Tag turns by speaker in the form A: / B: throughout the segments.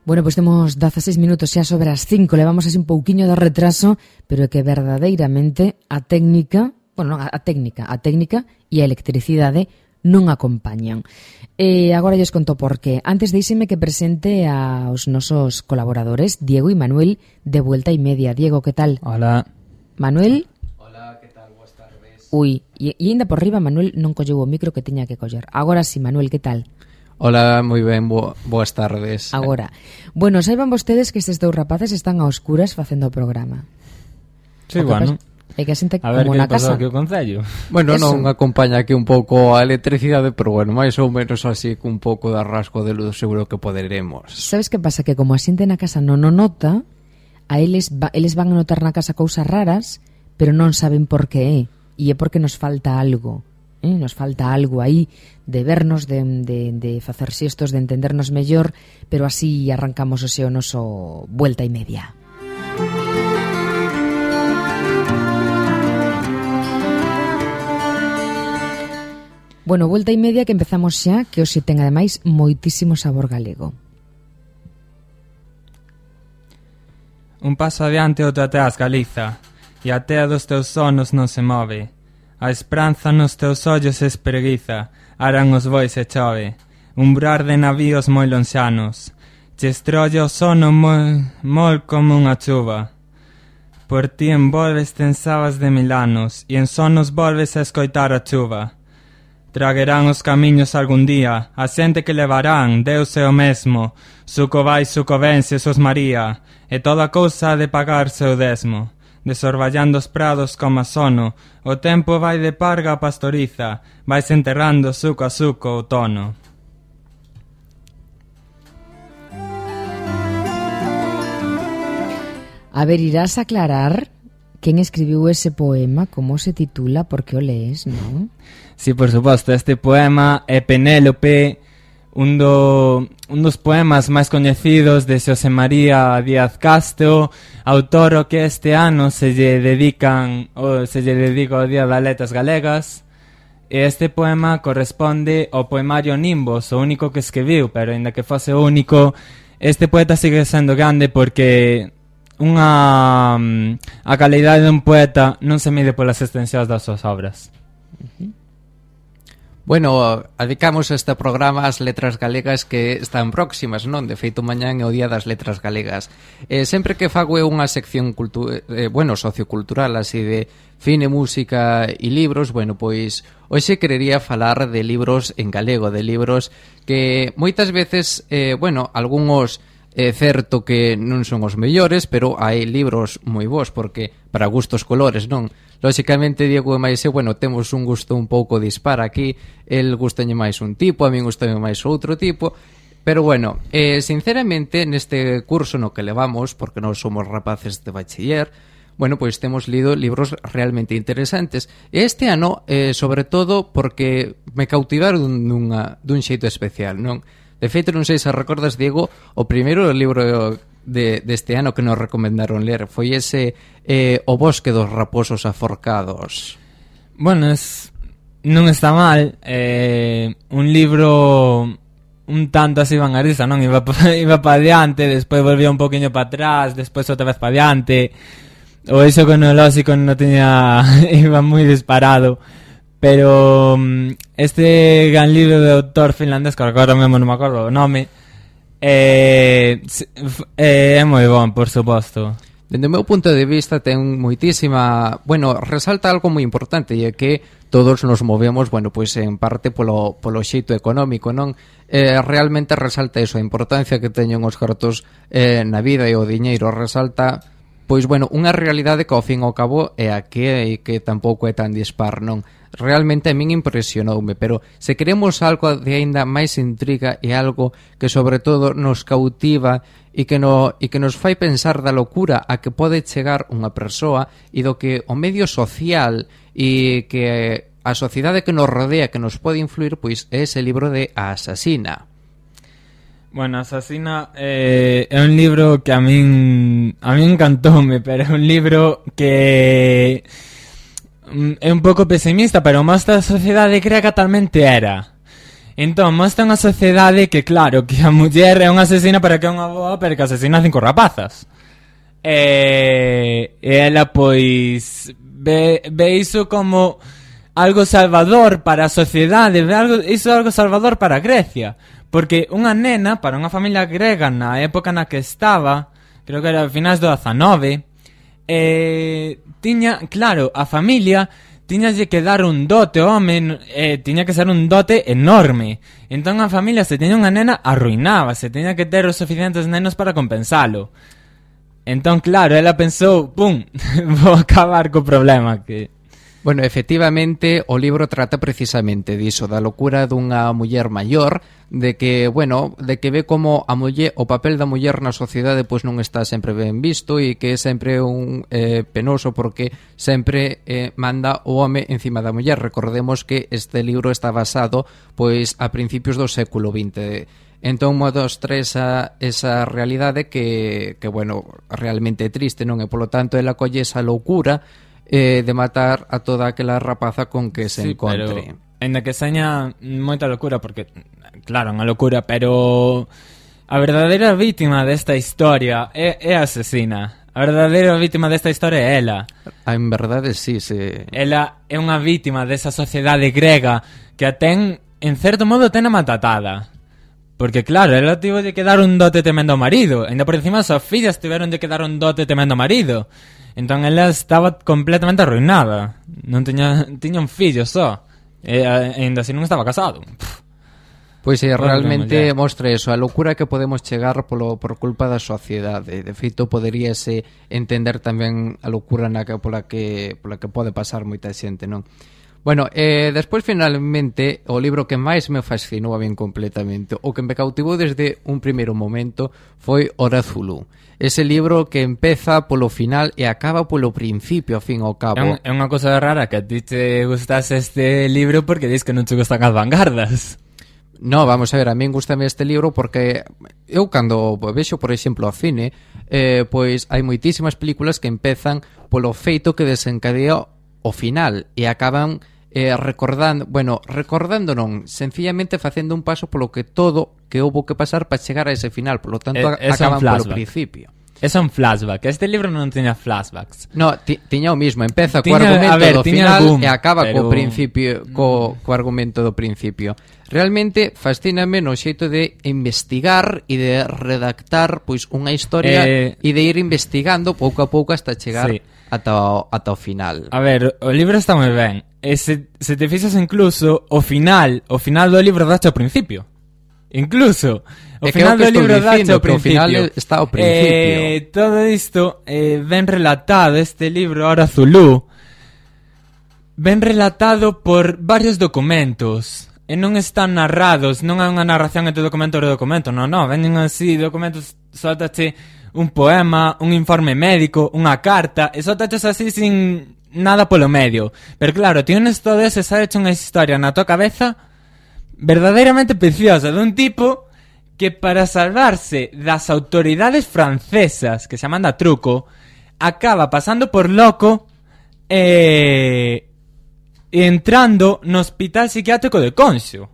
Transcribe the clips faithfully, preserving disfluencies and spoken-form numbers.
A: Bueno, pois temos dezaseis minutos xa sobre as cinco, levamos así un pouquiño de retraso, pero é que verdadeiramente a técnica, bueno, non, a técnica, a técnica e a electricidade non acompañan. E agora lles conto por qué. Antes deixeme que presente aos nosos colaboradores, Diego e Manuel, de Vuelta y Media. Diego, que tal?
B: Hola.
A: Manuel?
B: Hola, que tal? Boas tardes.
A: Ui, e, e ainda por riba Manuel non colleu o micro que tiña que coller. Agora sí, Manuel, que tal?
C: Hola, moi ben, bo, boas tardes.
A: Agora, bueno, saiban vostedes que estes dous rapaces están a oscuras facendo o programa.
B: Sí, bueno.
A: É que a xente
B: a ver
A: como
B: que
A: na casa.
B: A ver que o concello.
C: Bueno,
A: Eso.
C: non acompaña aquí un pouco a electricidade, pero bueno, máis ou menos así cun pouco de rasgo de luz seguro que poderemos.
A: Sabes que pasa? Que como a xente na casa non o nota, a eles, va, eles van a notar na casa cousas raras, pero non saben por que é. E é porque nos falta algo. Eh? Nos falta algo aí de vernos, de, de, de facer xestos, de entendernos mellor, pero así arrancamos o seu noso Vuelta y Media. Bueno, Vuelta y Media que empezamos xa, que hoxe ten ademais moitísimo sabor galego.
B: Un paso adiante, outro atrás, Galiza, e a tea dos teus sonos non se move. A esperanza nos teus ollos se espreguiza, aran os bois e chove. Un brar de navíos moi lonxanos, che estrolla o sono moi, mol como unha chuva. Por ti envolves tensabas de mil anos, e en sonos volves a escoitar a chuva. Traguerán os camiños algún día, a xente que levarán, Deus é o mesmo, suco vai, suco ven, Xesús María, e toda cousa ha de pagar seu desmo. Desorballando os prados como a sono, o tempo vai de parga a pastoriza, vais enterrando suco a suco o tono.
A: A ver, irás a aclarar quen escribiu ese poema, como se titula, por que o lees, non?
B: Sí, por suposto, este poema é Penélope, un, do, un dos poemas máis coñecidos de Xosé María Díaz Castro, autor o que este ano se lle dedican o se lle dedica o Día das Letras Galegas. E este poema corresponde ao poemario Nimbos, o único que escribiu, pero ainda que fose o único, este poeta sigue sendo grande porque unha a calidade dun poeta non se mide polas extensións das súas obras.
A: Uh-huh.
C: Bueno, adicamos este programa ás letras galegas que están próximas, non? De feito, mañán é o Día das Letras Galegas. Eh, sempre que fago unha sección cultu eh, bueno, sociocultural, así de cine, música e libros, bueno, pois hoxe querería falar de libros en galego, de libros que moitas veces, eh, bueno, algúns é certo que non son os mellores, pero hai libros moi bons, porque para gustos colores, non? Lóxicamente, Diego e máis eu, bueno, temos un gusto un pouco dispar aquí, el gustañe máis un tipo, a min gustañe máis outro tipo, pero bueno, eh, sinceramente, neste curso no que levamos, porque non somos rapaces de bachiller, bueno, pois temos lido libros realmente interesantes. E este ano, eh, sobre todo, porque me cautivaron dunha, dun xeito especial, non? De feito, non sei se recordas, Diego, o primeiro libro de, deste ano que nos recomendaron ler foi ese eh, O bosque dos raposos aforcados.
B: Bueno, es, non está mal, eh, un libro un tanto así vanguardista, non? Iba, iba para adiante, despois volvía un poquinho para atrás, despois outra vez para adiante, o iso cronolóxico non tiña, iba moi disparado. Pero este gran libro de autor finlandés, que agora mesmo non me acordo o nome, eh, eh, é moi bon, por suposto.
C: Dende o meu punto de vista ten moitísima, bueno, resalta algo moi importante, e é que todos nos movemos, bueno, pois en parte polo, polo xeito económico, non? Eh, realmente resalta iso, a importancia que teñen os cartos eh, na vida, e o diñeiro resalta, pois, bueno, unha realidade que ao fin e ao cabo é a que, e que tampouco é tan dispar, non? Realmente a min impresionoume, pero se queremos algo de aínda máis intriga e algo que sobre todo nos cautiva e que, no, e que nos fai pensar da locura a que pode chegar unha persoa e do que o medio social e que a sociedade que nos rodea, que nos pode influir, pois é ese libro de A Asasina.
B: Bueno, Asasina eh, é un libro que a min a min encantoume, pero é un libro que é un pouco pesimista, pero mostra a sociedade crea que talmente era. Entón, mostra unha sociedade que, claro, que a muller é unha asesina pero que é unha boa, pero que asesina cinco rapazas. E, e ela, pois, ve, ve iso como algo salvador para a sociedade, ve algo, iso é algo salvador para Grecia. Porque unha nena, para unha familia grega na época na que estaba, creo que era a finais do dezanove, eh, tiña, claro, a familia tiñalle que dar un dote ao home, eh, tiña que ser un dote enorme. Entón a familia, se tiña unha nena, arruinaba, se tiña que ter os suficientes nenos para compensalo. Entón, claro, ela pensou, pum, vou acabar co problema que...
C: Bueno, efectivamente, o libro trata precisamente diso, da locura dunha muller maior, de que, bueno, de que ve como a muller, o papel da muller na sociedade pois non está sempre ben visto e que é sempre un eh, penoso porque sempre eh, manda o home encima da muller. Recordemos que este libro está basado pois a principios do século vinte. Entón mostra esa, esa realidade que, que, bueno, realmente é triste, non? E polo tanto ela colle esa loucura Eh, de matar a toda aquela rapaza con que se
B: sí,
C: encontre.
B: Pero, ainda que seña moita locura, porque, claro, unha locura, pero a verdadeira vítima desta historia é, é a asesina. A verdadeira vítima desta historia é ela.
C: En verdade, sí, sí.
B: Ela é unha vítima desa sociedade grega que a ten, en certo modo, ten a matatada. Porque, claro, ela tivo de que dar un dote temendo ao marido. Ainda por encima, as súas fillas tiveron de que dar un dote temendo ao marido. Entón ela estaba completamente arruinada. Non tiña, tiña un fillo só. E ainda así non estaba casado.
C: Pois é, realmente mostra eso, a locura que podemos chegar polo, por culpa da sociedade. De feito, poderíase entender tamén a locura na que, pola, que, pola que pode pasar moita xente, non? Bueno, eh, despois finalmente o libro que máis me fascinou a ben completamente, o que me cautivou desde un primeiro momento foi Hora Zulu. Ese libro que empeza polo final e acaba polo principio, ao fin ao cabo.
B: É, un, é unha cosa rara que a ti te gustase este libro porque dis que non te gustan as vanguardas.
C: No, vamos a ver, a min gustame este libro porque eu cando vexo, por exemplo, a cine, eh, pois hai moitísimas películas que empezan polo feito que desencadea o final e acaban eh, recordando, bueno, recordando non, sencillamente facendo un paso polo que todo que houbo que pasar para chegar a ese final, polo tanto
B: eh,
C: acaban polo principio.
B: É un flashback, este libro non tiña flashbacks.
C: No, ti, tiña o mismo, empeza
B: tiña,
C: co argumento
B: ver,
C: do final
B: algún,
C: e acaba
B: pero...
C: co principio, co, co argumento do principio. Realmente fascíname no xeito de investigar e de redactar pois unha historia eh... e de ir investigando pouco a pouco hasta chegar sí. ata, o, ata o final.
B: A ver, o libro está moi ben. E se, se te fixas incluso o final, o final do libro dache ao principio. Incluso o
C: e
B: final do libro dache ao
C: O
B: principio.
C: final está ao principio.
B: Eh, todo isto eh, ben relatado, este libro Hora Zulu, ben relatado por varios documentos. E non están narrados, non é unha narración entre documento e documento, non, non, venen así documentos, soltache un poema, un informe médico, unha carta, e soltaches así sin nada polo medio. Pero claro, tienes todo ese, se ha hecho unha historia na tua cabeza verdadeiramente preciosa, dun tipo que para salvarse das autoridades francesas, que se manda truco, acaba pasando por loco e... e entrando no hospital psiquiátrico de Conxo.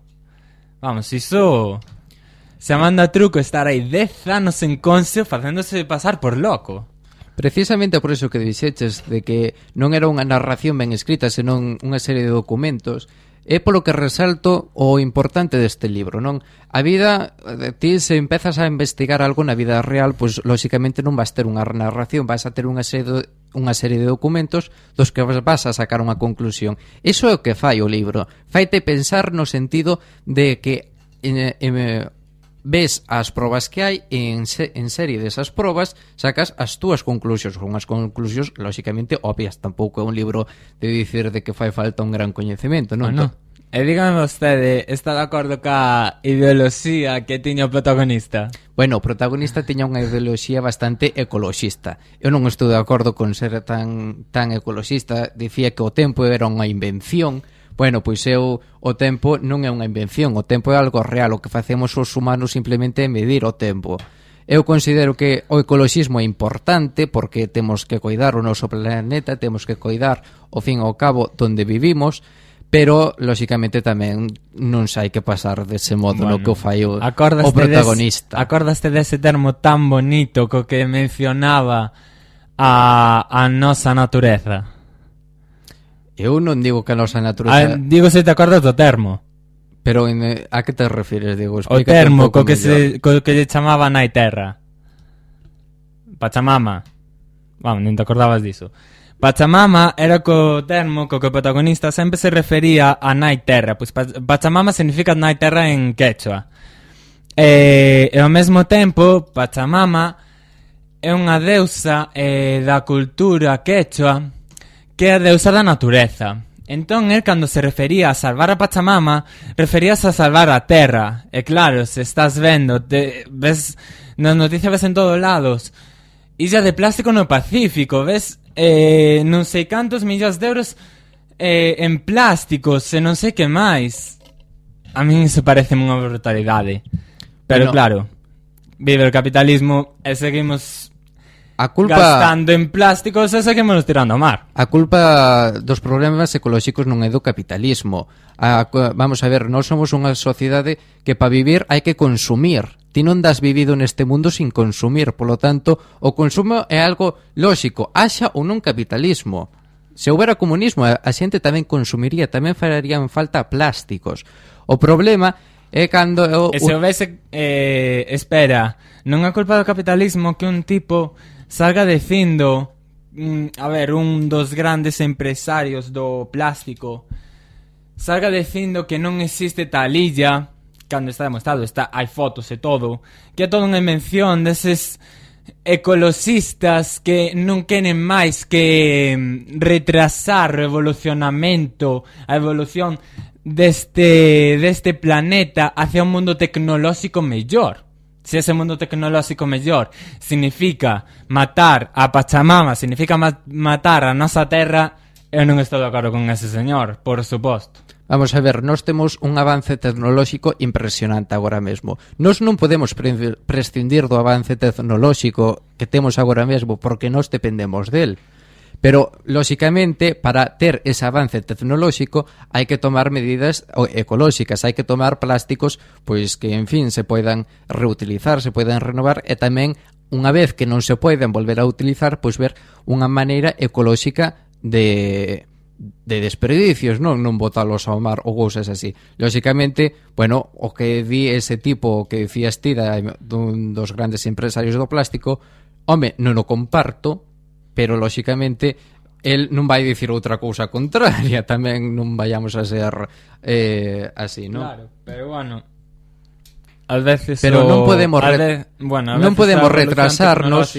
B: Vamos, iso... Se manda truco estar aí dez anos en Conxo facéndose pasar por loco.
C: Precisamente por eso que dixeches de que non era unha narración ben escrita, senón unha serie de documentos, é polo que resalto o importante deste libro, non? A vida, ti se empezas a investigar algo na vida real, pois lóxicamente non vas ter unha narración, vas a ter unha serie de, unha serie de documentos dos que vas a sacar unha conclusión. Iso é o que fai o libro. Faite pensar no sentido de que eh, eh, ves as probas que hai e en, se, en serie desas probas sacas as túas conclusións. Unhas conclusións, lóxicamente, obvias. Tampouco é un libro de dicir de que fai falta un gran coñecemento, non?
B: Ah, no. E dígame vostede, está de acordo ca ideoloxía que tiña o protagonista?
C: Bueno, o protagonista tiña unha ideoloxía bastante ecoloxista. Eu non estou de acordo con ser tan, tan ecoloxista. Dicía que o tempo era unha invención. Bueno, pois eu, o tempo non é unha invención, o tempo é algo real, o que facemos os humanos simplemente é medir o tempo. Eu considero que o ecoloxismo é importante porque temos que coidar o noso planeta, temos que coidar, ao fin e ao cabo, donde vivimos, pero lóxicamente tamén non se hai que pasar dese modo bueno, no que o fai o, o protagonista.
B: Des, acordaste dese termo tan bonito co que mencionaba a, a nosa natureza?
C: Eu non digo que a nosa natureza...
B: Ah, digo se te acordas do termo.
C: Pero en, a que te refires, digo?
B: O termo co que, se, co que lle chamaba Nai Terra. Pachamama. Vamos, nin te acordabas diso. Pachamama era co termo co que o protagonista sempre se refería a Nai Terra. Pois Pachamama significa Nai Terra en quechua. E, e ao mesmo tempo, Pachamama é unha deusa eh, da cultura quechua que é a deusa da natureza. Entón, él, cando se refería a salvar a Pachamama, referíase a salvar a terra. E claro, se estás vendo, te, ves, nas noticias ves en todos lados, illa de plástico no Pacífico, ves... Eh, non sei cantos millóns de euros eh, en plásticos e non sei que máis. A min iso parece unha brutalidade. Pero bueno, claro, vive o capitalismo e seguimos a culpa, gastando en plásticos e seguimos tirando ao mar.
C: A culpa dos problemas ecolóxicos non é do capitalismo. A, vamos a ver, nós somos unha sociedade que para vivir hai que consumir. Ti non das vivido neste mundo sin consumir, polo tanto, o consumo é algo lóxico, haxa ou non capitalismo. Se houbera comunismo, a xente tamén consumiría, tamén farían falta plásticos. O problema é cando... O,
B: e se houvese... Eh, espera, non é culpa do capitalismo que un tipo salga dicindo... Mm, a ver, un dos grandes empresarios do plástico salga dicindo que non existe tal illa... cando está demostrado, está, hai fotos e todo, que é toda unha invención deses ecoloxistas que non queren máis que retrasar o evolucionamento, a evolución deste, deste planeta hacia un mundo tecnolóxico mellor. Se ese mundo tecnolóxico mellor significa matar a Pachamama, significa ma- matar a nosa terra, eu non estou de acordo con ese señor, por suposto.
C: Vamos a ver, nós temos un avance tecnolóxico impresionante agora mesmo. Nós non podemos pre- prescindir do avance tecnolóxico que temos agora mesmo porque nós dependemos del. Pero, lóxicamente, para ter ese avance tecnolóxico hai que tomar medidas ecolóxicas, hai que tomar plásticos pois que, en fin, se poidan reutilizar, se poidan renovar e tamén, unha vez que non se poden volver a utilizar, pois ver unha maneira ecolóxica de... de desperdicios, non non botalos ao mar ou cousas así. Lóxicamente, bueno, o que di ese tipo que dicías ti da, dun dos grandes empresarios do plástico, home, non o comparto, pero lóxicamente el non vai dicir outra cousa contraria, tamén non vayamos a ser eh, así, non?
B: Claro, pero bueno, ás veces
C: pero
B: o,
C: non podemos re...
B: ve... bueno,
C: non podemos retrasarnos.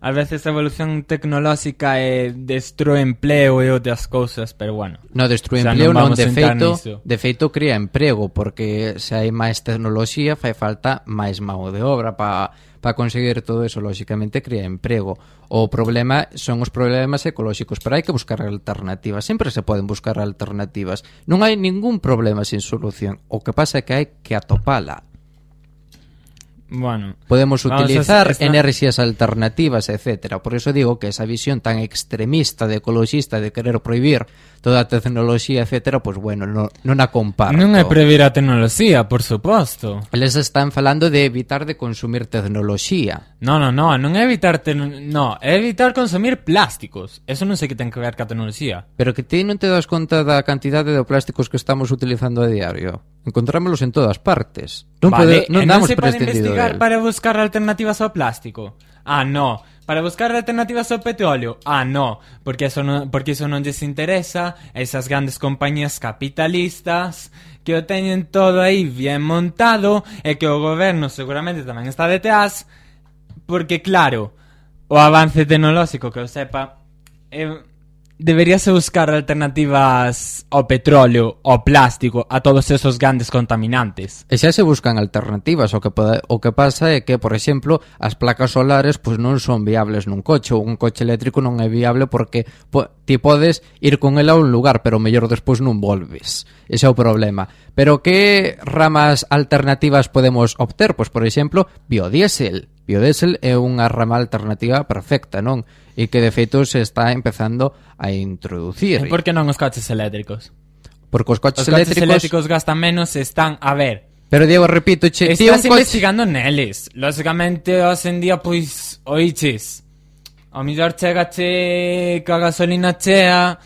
B: A veces a evolución tecnolóxica eh, destrue empleo e outras cousas, pero bueno.
C: No, destrue o sea, empleo non, non de feito, de feito crea emprego, porque se hai máis tecnoloxía fai falta máis mão de obra para pa conseguir todo eso, lóxicamente crea emprego. O problema son os problemas ecolóxicos, pero hai que buscar alternativas, sempre se poden buscar alternativas. Non hai ningún problema sin solución, o que pasa é que hai que atopala.
B: Bueno,
C: podemos utilizar esta... enerxías alternativas, etcétera. Por eso digo que esa visión tan extremista de ecoloxista de querer prohibir toda a tecnoloxía, etcétera, pues bueno, no, non a comparto.
B: Non é prohibir a tecnoloxía, por suposto.
C: Eles están falando de evitar de consumir tecnoloxía.
B: No, no, no, non é evitar te... no, é evitar consumir plásticos. Eso non sei que ten que ver ca tecnoloxía.
C: Pero que ti non te das conta da cantidade de plásticos que estamos utilizando a diario. Encontrámolos en todas partes. Non,
B: vale,
C: pode, non damos
B: non se pode investigar
C: del.
B: Para buscar alternativas ao plástico. Ah, no. Para buscar alternativas ao petróleo. Ah, no. Porque eso non, porque eso non lles interesa a esas grandes compañías capitalistas que o teñen todo aí bien montado e que o goberno seguramente tamén está detrás. Porque claro, o avance tecnolóxico que eu sepa eh, deberíase buscar alternativas ao petróleo, ao plástico, a todos esos grandes contaminantes.
C: E xa se buscan alternativas, o que pode, o que pasa é que, por exemplo, as placas solares pois non son viables nun coche, ou un coche eléctrico non é viable porque po, ti podes ir con ela a un lugar, pero mellor despois non volves. Ese é o problema. Pero que ramas alternativas podemos obter? Pois, por exemplo, biodiesel. Biodiesel é unha rama alternativa perfecta, non? E que de feito se está empezando a introducir.
B: E por que non os coches eléctricos?
C: Porque os coches,
B: os coches
C: eléctricos...
B: eléctricos gastan menos e están, a ver...
C: Pero, Diego, repito, che, ti un
B: estás
C: coche...
B: investigando neles. Lógicamente, hoxe en día, pois, oiches, ao mellor chegache ca gasolina chea,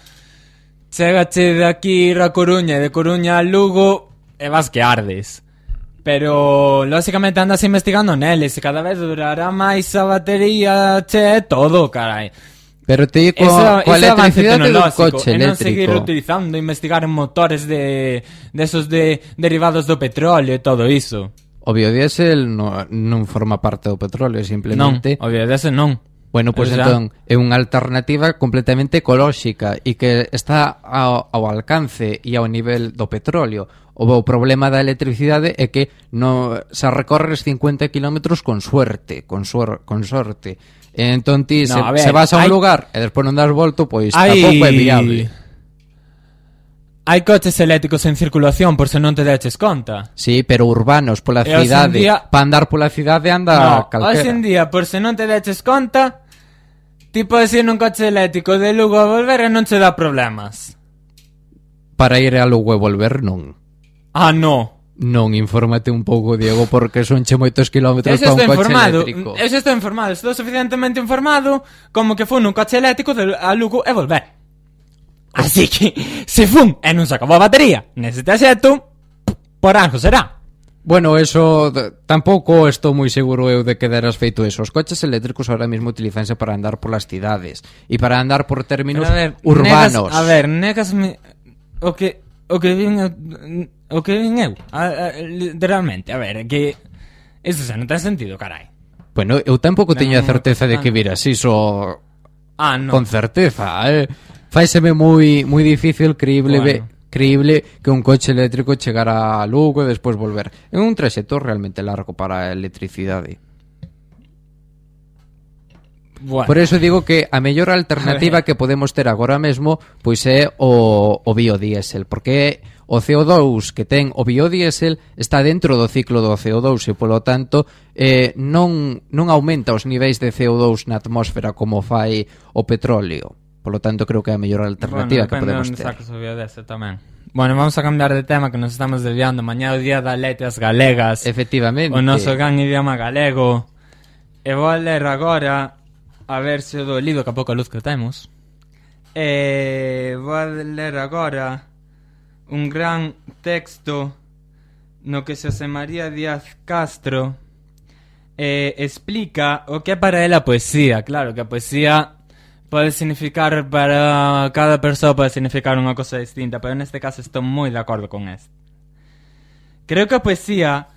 B: chegache de aquí a Coruña, de Coruña a Lugo, e vas que ardes. Pero, lógicamente, andas investigando neles, e cada vez durará máis a batería chea e todo, carai.
C: Pero te co,
B: Esa,
C: coa
B: ese avance
C: electricidade do
B: tecnolóxico
C: coche
B: e non seguir
C: eléctrico.
B: utilizando, investigar en motores de, de esos de derivados do petróleo e todo iso.
C: O biodiesel no, non forma parte do petróleo,
B: Non,
C: simplemente...
B: o biodiesel non.
C: Bueno, pois pues
B: O sea,
C: entón é unha alternativa completamente ecolóxica e que está ao, ao alcance e ao nivel do petróleo. O, o problema da electricidade é que no, se recorres cincuenta kilómetros con suerte, con, suer, con sorte. E entón ti
B: No,
C: se,
B: a ver,
C: se vas a un
B: hai-
C: lugar e despois non das volto, pois
B: Hai-
C: tampouco é viable.
B: Hai coches eléctricos en circulación por se non te deches conta.
C: Sí, pero urbanos pola
B: E hoxe en
C: cidade,
B: día-
C: para andar pola cidade anda
B: No,
C: calquera.
B: hoxe en día, por se non te deches conta, ti podes ir nun coche eléctrico de Lugo a volver e non che dá problemas.
C: Para ir a Lugo e volver non.
B: Ah, no.
C: Non, infórmate un pouco, Diego, porque son che moitos kilómetros
B: Eso
C: para un
B: estou
C: coche
B: informado.
C: eléctrico.
B: Eso estou informado. Estou suficientemente informado como que fun nun coche eléctrico de a Lugo e volver. Así que, se fun e non se acabou a batería nese traxecto, por algo será.
C: Bueno, eso d- tampouco estou moi seguro eu de que deras feito eso. Os coches eléctricos ahora mismo utilizanse para andar polas cidades e para andar por términos
B: Pero, a ver,
C: urbanos.
B: Negas, a ver, negasme o que o que vin eu, o que vin eu, a, a, literalmente, a ver, que eso xa non ten sentido, carai.
C: Bueno, eu tampouco
B: Ben,
C: teño a certeza de
B: ben.
C: que viras iso
B: Ah, no.
C: con certeza, eh. Faiseme moi moi difícil, creíble,
B: Bueno.
C: ve, creíble que un coche eléctrico chegara a Lugo e despois volver. É un traxecto realmente largo para a electricidade.
B: Bueno.
C: Por eso digo que a mellor alternativa que podemos ter agora mesmo pois é o, o biodiesel, porque o C O dous que ten o biodiesel está dentro do ciclo do C O dous e polo tanto eh, non, non aumenta os niveis de C O dous na atmósfera como fai o petróleo. Polo tanto creo que é a mellor alternativa
B: bueno,
C: que podemos
B: onde
C: ter.
B: sacas o biodiesel tamén. Bueno, vamos a cambiar de tema que nos estamos desviando. Mañá é o día das letras galegas.
C: Efectivamente.
B: O noso gran idioma galego. E vou ler agora a ver se o do lido que a pouca luz que temos. E vou ler agora un gran texto no que Xosé María Díaz Castro eh, explica o que é para ela a poesía. Claro que a poesía pode significar para cada persoa pode significar unha cosa distinta, pero neste caso estou moi de acordo con este. Creo que a poesía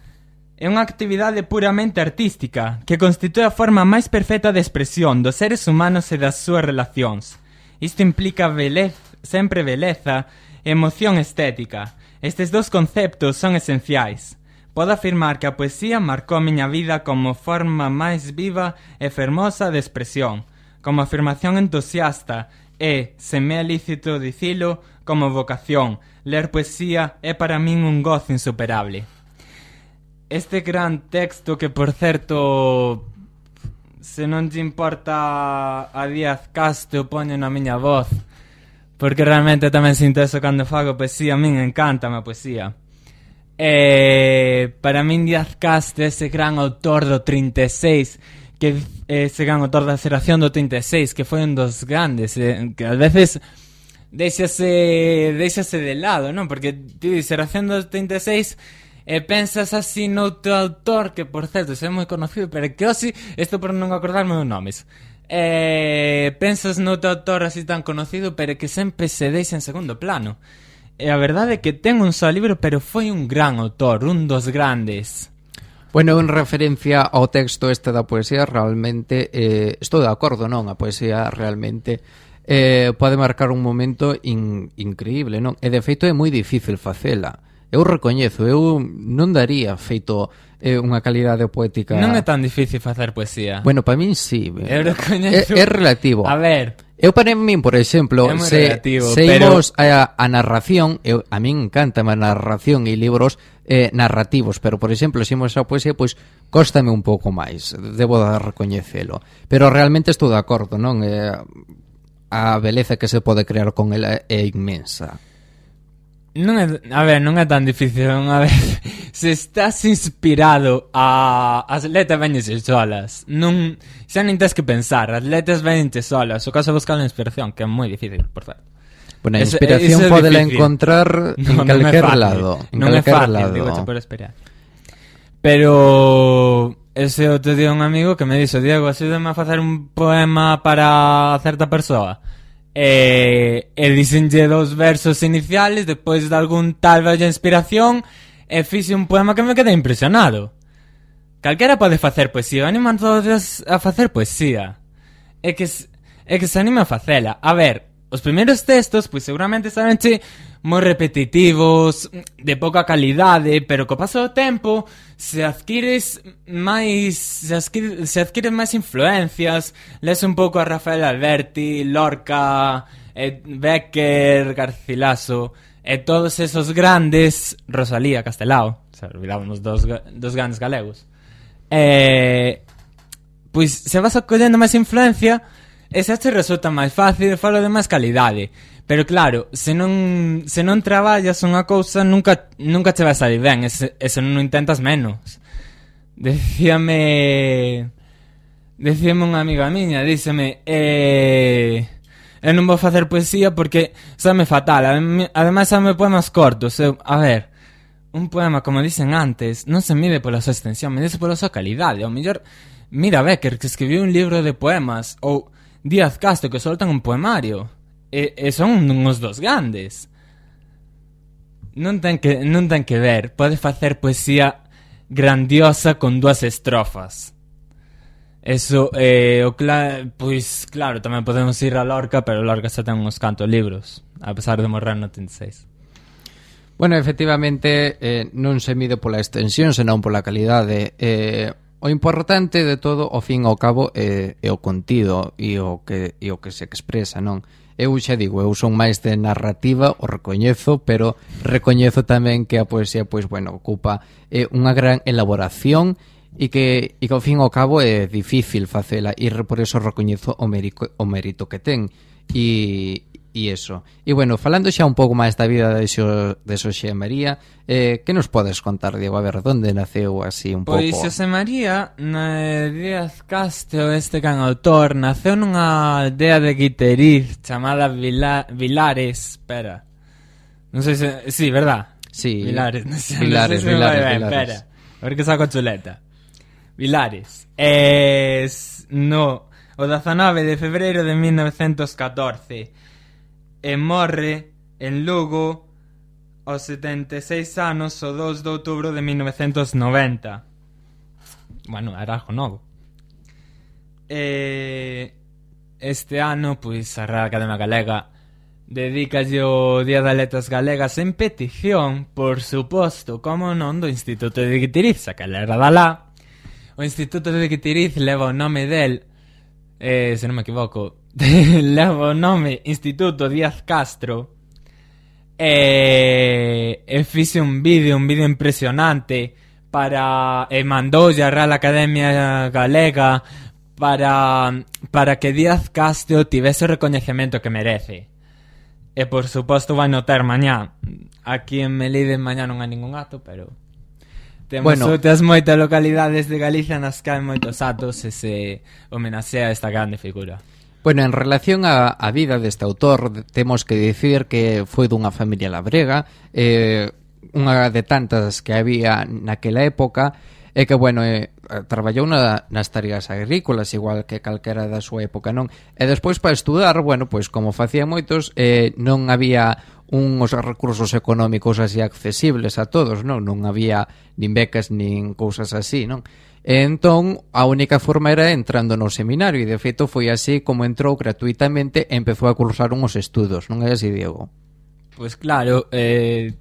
B: é unha actividade puramente artística que constitúe a forma máis perfecta de expresión dos seres humanos e das súas relacións. Isto implica belez, sempre beleza e emoción estética. Estes dous conceptos son esenciais. Podo afirmar que a poesía marcou a miña vida como forma máis viva e fermosa de expresión, como afirmación entusiasta e, se me é lícito dicilo, como vocación. Ler poesía é para min un gozo insuperable. Este gran texto que, por certo, se non te importa a Díaz Castro poño na miña voz, porque realmente tamén sinto eso cando fago poesía. A min encanta a poesía. E para min Díaz Castro é ese gran autor do trinta e seis, que é ese gran autor da xeración do trinta e seis, que foi un dos grandes, eh, que a veces deixase deixase de lado, non? Porque ti xeración do trinta e seis e pensas así noutro autor que, por certo, é moi conocido, pero que así, isto por non acordarme dos nomes, e pensas noutro autor así tan conocido, pero que sempre se deixa en segundo plano. E a verdade é que ten un só libro, pero foi un gran autor, un dos grandes.
C: Bueno, en referencia ao texto este da poesía, realmente eh, estou de acordo, non? A poesía realmente eh, pode marcar un momento in, increíble, non? E de feito é moi difícil facela. Eu recoñezo, eu non daría feito eh, unha calidade poética.
B: Non é tan difícil facer poesía.
C: Bueno, para min sí.
B: Eu recoñezo.
C: É, é relativo.
B: A ver,
C: Eu para min, por exemplo,
B: É moi
C: se,
B: relativo,
C: se
B: pero-
C: imos a, a narración, eu, a min encanta a narración e libros eh, narrativos, pero por exemplo, se imos a poesía, pois cóstame un pouco máis, debo de recoñecelo. Pero realmente estou de acordo, non? Eh, a beleza que se pode crear con ela é inmensa.
B: Non é, a ver, non é tan difícil, a ver, se estás inspirado a as letras venense solas, non, xa nin tens que pensar, as letras venense solas, o caso é buscar a inspiración, que é moi difícil, por certo.
C: Bueno, a inspiración podela encontrar en
B: no,
C: calquer
B: non
C: lado, en
B: non é
C: calquer
B: fácil,
C: lado.
B: digo, por esperar. Pero ese outro día un amigo que me dixo, Diego, axúdame a facer un poema para certa persoa. E, e disenlle dos versos iniciales, depois de algún tal vez de inspiración, e fixe un poema que me quedei impresionado. Calquera pode facer poesía, animan todos a facer poesía. É que, é que se anima a facela. A ver, os primeiros textos, pois seguramente sabenche moi repetitivos, de pouca calidade, pero co paso do tempo se adquires máis se, adquire, se adquires máis influencias, lees un pouco a Rafael Alberti, Lorca, eh, Becker, Garcilaso e todos esos grandes, Rosalía, Castelao, se olvidábamos dos, dos grandes galegos. Eh, pois se vas acollendo máis influencia, e xa te resulta máis fácil, falo de máis calidade. Pero claro, se non se non traballas unha cousa, nunca nunca te vai salir ben, e se, e se non o intentas menos. Decíame Decíame unha amiga miña, díxeme, eh, eu non vou facer poesía porque sabe fatal, ademais sabe poemas cortos. Eu, a ver, un poema, como dicen antes, non se mide pola súa extensión, mide pola súa calidade. Ao mellor, mira Becker, que escribiu un libro de poemas, ou Díaz Castro, que soltan un poemario. E, e son uns dos grandes. Non ten que non ten que ver, pode facer poesía grandiosa con dúas estrofas. Eso eh, o cla- pois claro, tamén podemos ir a Lorca, pero Lorca xa ten uns cantos libros, a pesar de morrer no trinta e seis.
C: Bueno, efectivamente, eh, non se mide pola extensión, senón pola calidade. Eh, o importante de todo, ao fin e ao cabo, é, é o contido e o que e o que se expresa, non? Eu xa digo, eu son máis de narrativa, o recoñezo, pero recoñezo tamén que a poesía, pois, bueno, ocupa eh, unha gran elaboración e que, e que ao fin e ao cabo é difícil facela, e por eso recoñezo o mérito, o mérito que ten. E, e eso. E, bueno, falando xa un pouco máis da vida de, xo, de Xosé María, eh, que nos podes contar, Diego? A ver, donde naceu así un pouco?
B: Pois Xosé María na Díaz Castro, este can autor, naceu nunha aldea de Guiteriz chamada Vila, Vilares. Espera, non sei se... Sí, verdad?
C: Sí,
B: Vilares, non sei,
C: Vilares,
B: non sei
C: Vilares,
B: ben,
C: Vilares.
B: Espera, a ver que saco chuleta. Vilares. Es... No, o dezanove de febreiro de mil novecientos catorce. E morre en Lugo aos setenta e seis anos o dos de outubro de mil novecientos noventa. Bueno, era algo novo. E este ano, pois, a Real Academia Galega dedícalle o Día das Letras Galegas en petición, por suposto, como non, do Instituto de Guitiriz, xa que ela era da lá. O Instituto de Guitiriz leva o nome del, eh, se non me equivoco, leva o nome Instituto Díaz Castro, e, e fixe un vídeo, un vídeo impresionante para, e mandoulle a Real Academia Galega para, para que Díaz Castro tivese o recoñecemento que merece. E por suposto vai notar mañá. Aquí en Melide mañá non hai ningún acto, pero temos bueno, outras moitas localidades de Galicia nas que hai moitos actos e se homenaxea a esta grande figura.
C: Bueno, en relación á, á vida deste autor, temos que dicir que foi dunha familia labrega, eh, unha de tantas que había naquela época, e que, bueno, eh, traballou na, nas tareas agrícolas, igual que calquera da súa época, non? E despois, para estudar, bueno, pois como facían moitos, eh, non había uns recursos económicos así accesibles a todos, non? Non había nin becas nin cousas así, non? E entón, a única forma era entrando no seminario, e de feito foi así como entrou gratuitamente e empezou a cursar uns estudos, non é así, Diego?
B: Pois claro, eh,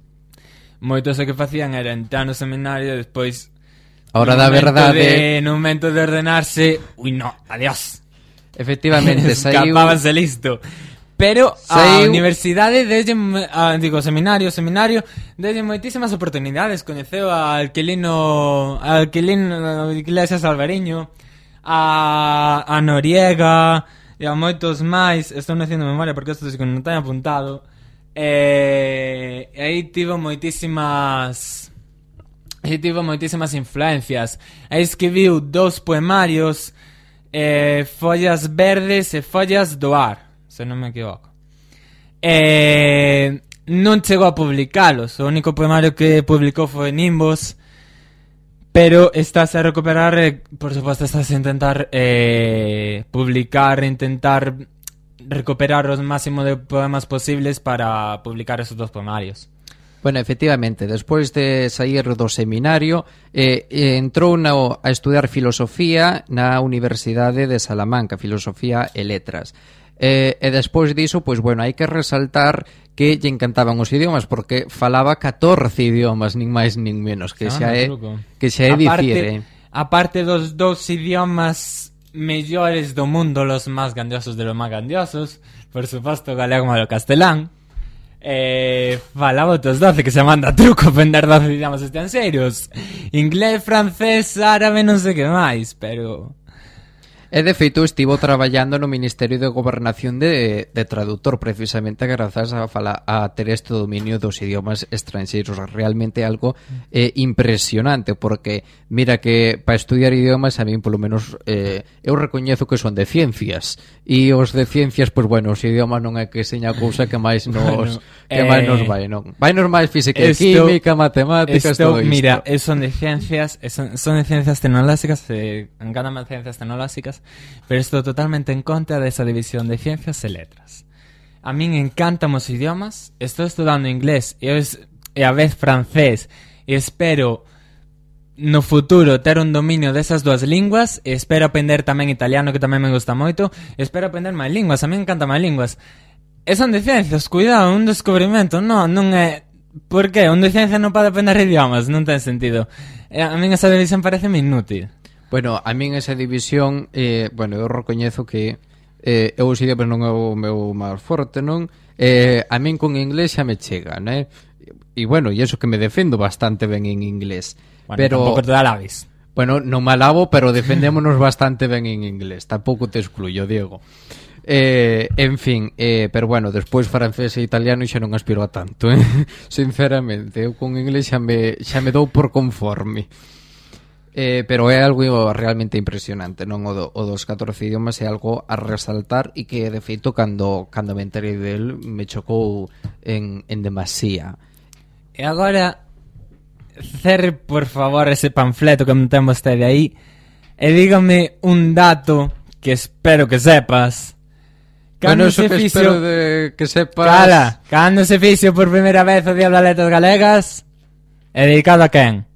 B: moitos o que facían era entrar no seminario e despois
C: ahora da verdade
B: de, no momento de ordenarse, ui no, adiós.
C: Efectivamente, saiu...
B: escapábanse listo. Pero a universidade desde, a, digo, seminario, seminario, desde moitísimas oportunidades. Coñeceu a Alquilino, a Alquilino Iglesias Alvariño, a, a Noriega e a moitos máis. Estou non haciendo memoria porque isto non ten apuntado. E aí tivo moitísimas aí tivo moitísimas influencias. Aí escribiu dous poemarios, eh, Follas verdes e Follas do ar, se non me equivoco. E non chegou a publicalos. O único poemario que publicou foi Nimbos, pero estás a recuperar, eh, por suposto, estás a intentar eh, publicar, intentar recuperar os máximo de poemas posibles para publicar esos dos poemarios.
C: Bueno, efectivamente, despois de sair do seminario, eh, entrou na, a estudar filosofía na Universidade de Salamanca, filosofía e letras. Eh, e despois diso, pois bueno, hai que resaltar que lle encantaban os idiomas, porque falaba catorce idiomas, nin máis nin menos, que xa é que xa é dicir, eh.
B: Aparte dos dous idiomas mellores do mundo, los máis grandiosos de los máis grandiosos, por suposto, galego e castelán, eh, falaba outros doce, que se manda truco aprender doce idiomas estranxeiros, inglés, francés, árabe, non sei que máis, pero...
C: E de feito estivo traballando no Ministerio de Gobernación de, de traductor, precisamente grazas a, fala, a ter este dominio dos idiomas estranxeiros. Realmente algo eh, impresionante, porque mira que para estudiar idiomas a mí polo menos eh, eu recoñezo que son de ciencias, e os de ciencias, pois bueno, os idiomas non é que seña cousa que máis nos bueno, que máis eh, nos vai, non? Vai nos máis física e química, matemáticas,
B: esto,
C: todo isto.
B: Mira, son de ciencias, son, son de ciencias tecnolóxicas, eh, encantan as ciencias tecnolóxicas, pero estou totalmente en contra desa división de ciencias e letras. A min encantan os idiomas, estou estudando inglés e, es, e a vez francés, e espero no futuro ter un dominio desas dúas linguas, e espero aprender tamén italiano, que tamén me gusta moito, e espero aprender máis linguas, a min encantan máis linguas. E son de ciencias, cuidado, un descubrimento, non, non é... Por que? Un de ciencias non pode aprender idiomas, non ten sentido. E a min esa división parece inútil.
C: Bueno, a min esa división, eh, bueno, eu recoñezo que eh, eu os idiomas non é o meu máis forte, non? Eh, a min con inglés xa me chega, né? E bueno, e iso que me defendo bastante ben en inglés.
B: Bueno,
C: pero
B: tampouco te alabes.
C: Bueno, non me alabo, pero defendémonos bastante ben en inglés. Tampouco te excluyo, Diego. Eh, en fin, eh, pero bueno, despois francés e italiano xa non aspiro a tanto, eh? Sinceramente, eu con inglés xa me, xa me dou por conforme. Eh, pero é algo realmente impresionante, non? O, do, o dos catorce idiomas é algo a resaltar, e que de feito cando, cando me enterei del me chocou en, en demasía.
B: E agora cerre por favor ese panfleto que non ten vostede aí e dígame un dato que espero que sepas.
C: Cando bueno, se que fixo... espero de que sepas...
B: Cala, cando se fixo por primeira vez o Día das Letras Galegas e dedicado a quen?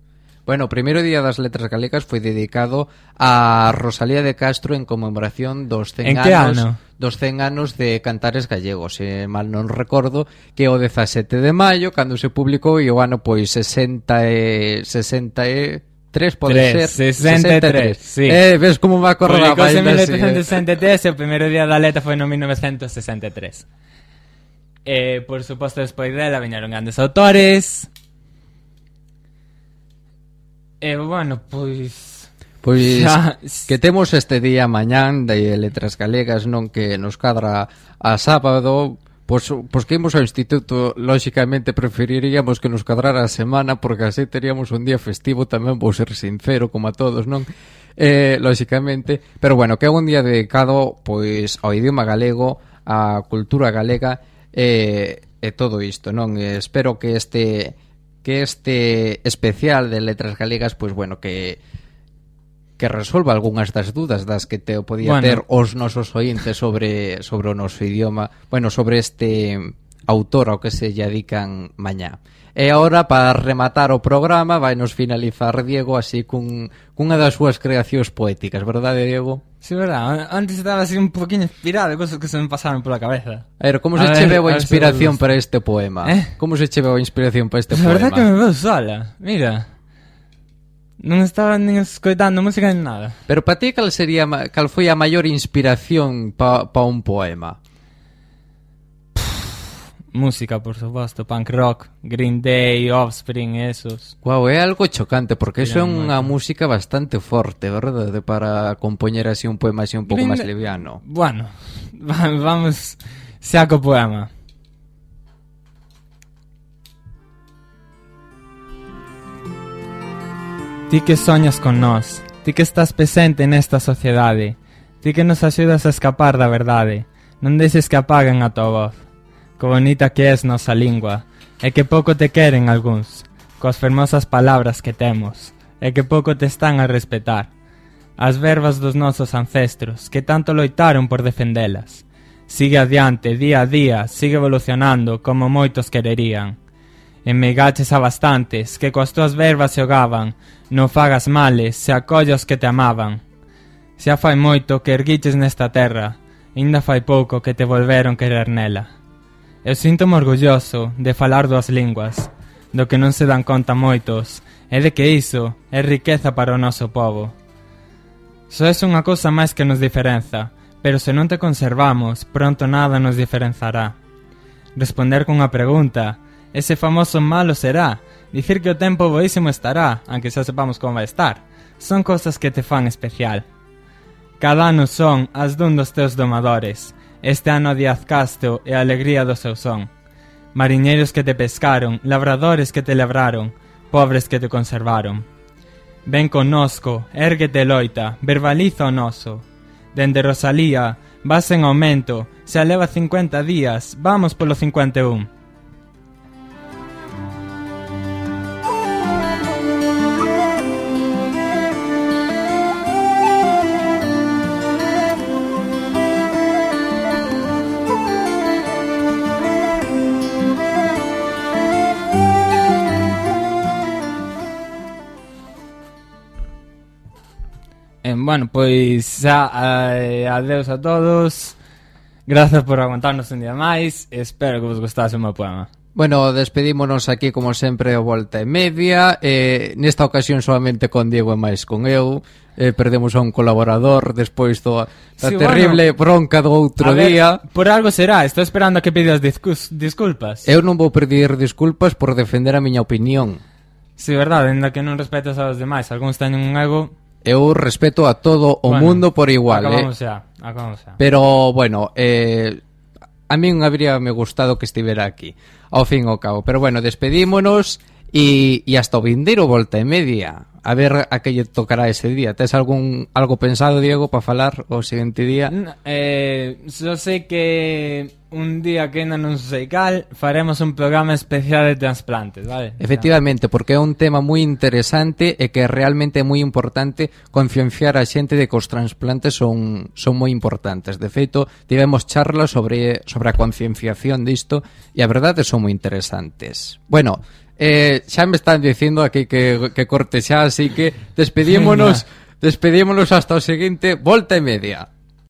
C: Bueno, o primeiro Día das Letras Galegas foi dedicado a Rosalía de Castro en conmemoración dos cen anos dos cen anos de Cantares Gallegos. Se mal non recordo, que o dezasete de maio, cando se publicou, e o ano pois sesenta e sesenta e tres pode ser
B: sesenta e tres, sí.
C: Eh, ves como me acordaba.
B: Publicouse en mil novecientos sesenta e tres e o primeiro Día da Letra foi no mil novecientos sesenta e tres. Eh, por suposto, despois dela viñeron grandes autores. E, eh, bueno, pois...
C: Pois xa... que temos este día mañán de Letras Galegas, non, que nos cadra a sábado. Pois, pois que imos ao instituto, lóxicamente preferiríamos que nos cadrara a semana, porque así teríamos un día festivo tamén, vou ser sincero, como a todos, non? Eh, lóxicamente, pero bueno, que é un día dedicado pois ao idioma galego, á cultura galega, eh, e todo isto, non? E espero que este que este especial de Letras Galegas, pois bueno, que que resolva algunhas das dudas das que te podía bueno. ter os nosos ointes sobre sobre o noso idioma, bueno, sobre este autor ao que se lle dedican mañá. E agora, para rematar o programa, vai nos finalizar Diego así cun, cunha das súas creacións poéticas, verdade, Diego?
B: Sí, verdad. Antes estaba así un poquinho inspirado de cosas que se me pasaron pola cabeza.
C: A ver, como se che veu a inspiración para este poema?
B: ¿Eh?
C: Como se che veu a inspiración para este
B: pues
C: poema?
B: A verdad que me veu sola, mira. Non estaba nin escoitando música nin nada.
C: Pero para ti cal sería cal foi a maior inspiración para pa un poema?
B: Música, por suposto, punk rock, Green Day, Offspring, esos.
C: Guau, é algo chocante, porque eso é unha música bastante forte, verdade? Para compoñer así un poema así un pouco máis liviano.
B: Bueno, vamos, saco poema. Ti que soñas con nós, ti que estás presente nesta sociedade, ti que nos axudas a escapar da verdade, non deixes que apaguen a tua voz. Co bonita que es nosa lingua, e que pouco te queren algúns, coas fermosas palabras que temos, e que pouco te están a respetar. As verbas dos nosos ancestros, que tanto loitaron por defendelas. Sigue adiante, día a día, sigue evolucionando como moitos quererían. Enmeigaches a bastantes, que coas túas verbas xogaban, non fagas males, se acollos que te amaban. Xa fai moito que erguiches nesta terra, ainda fai pouco que te volveron querer nela. Eu síntome orgulloso de falar dúas linguas, do que non se dan conta moitos, é de que iso é riqueza para o noso povo. Só é unha cousa máis que nos diferenza, pero se non te conservamos, pronto nada nos diferenzará. Responder con unha pregunta, ese famoso malo será, dicir que o tempo boísimo estará, aunque xa sepamos como vai estar, son cousas que te fan especial. Cada ano son as dun dos teus domadores, este ano Díaz Castro e a alegría do seu son. Mariñeiros que te pescaron, labradores que te labraron, pobres que te conservaron. Ven connosco, érguete loita, verbaliza o noso. Dende Rosalía, vas en aumento, xa leva cincuenta días, vamos polo cincuenta e un. Bueno, pois xa, eh, adeus a todos. Gracias por aguantarnos un día máis. Espero que vos gostase o meu poema.
C: Bueno, despedímonos aquí como sempre o Volta e Media. eh, Nesta ocasión solamente con Diego e máis con eu. eh, Perdemos a un colaborador despois do, da
B: sí,
C: terrible bueno, bronca do outro
B: ver,
C: día.
B: Por algo será, estou esperando a que pidas discus, disculpas.
C: Eu non vou pedir disculpas por defender a miña opinión.
B: Si, sí, verdade, ainda que non respetas aos demais. Algúns teñen un ego.
C: Eu respeto a todo o bueno, mundo por igual,
B: acabamos
C: eh?
B: xa, acabamos xa.
C: Pero, bueno, eh, a min habría me gustado que estivera aquí, ao fin ao cabo. Pero, bueno, despedímonos e, e hasta o vindeiro Volta e Media. A ver a que lle tocará ese día. Tes algún algo pensado, Diego, para falar o seguinte día?
B: No, eh, só sei que un día que ainda non sei cal faremos un programa especial de trasplantes, vale?
C: Efectivamente, porque é un tema moi interesante e que realmente é moi importante concienciar a xente de que os trasplantes son, son moi importantes. De feito, tivemos charlas sobre, sobre a concienciación disto e a verdade son moi interesantes. Bueno, eh, xa me están dicindo aquí que, que corte xa, así que despedímonos, despedímonos hasta o seguinte Volta e Media.